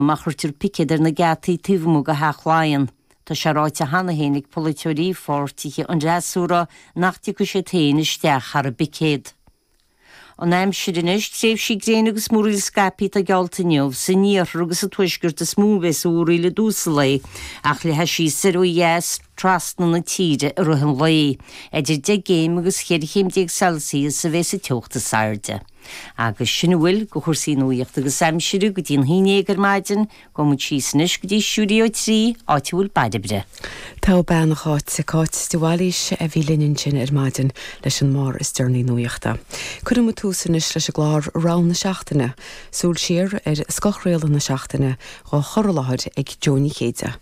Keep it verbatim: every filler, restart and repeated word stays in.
Má chuirtear picéad ar na geataí taobh amuigh de Theach Laighean. Tá sé ráite cheana féin ag polaiteoirí pháirtithe an fhreasúra nach dtiocfaidh siad féin isteach thar an bpicéad. An aimsir anois tréimhsí gréine agus múraíl scaipthe atá geallta inniu san iarthar agus sa tuaisceart is mó a bheas an mhúraíl i dtús an lae ach leathfaidh sí soir ó dheas trasna na tíre i rith an lae. Idir deich gcéim agus cheithre chéim déag Celsius a bheas an teocht is airde. Agus sin a bhfuil de chúrsaí nuachta agus aimsire go dtí an haon déag ar maidin, gabhfaidh muid síos anois go dtí Stiúideo a trí áit a bhfuil Bairbre. Tá bean Cháit Cáit de Bhailís a bhí linn ansin ar maidin leis an mbarr is deireanaí nuachta. Cuireann muid tús anois leis an gclár Rogha na Seachtaine, súil siar ar scothchraoladh na seachtaine á chur i láthair ag Joe Ní Chéide.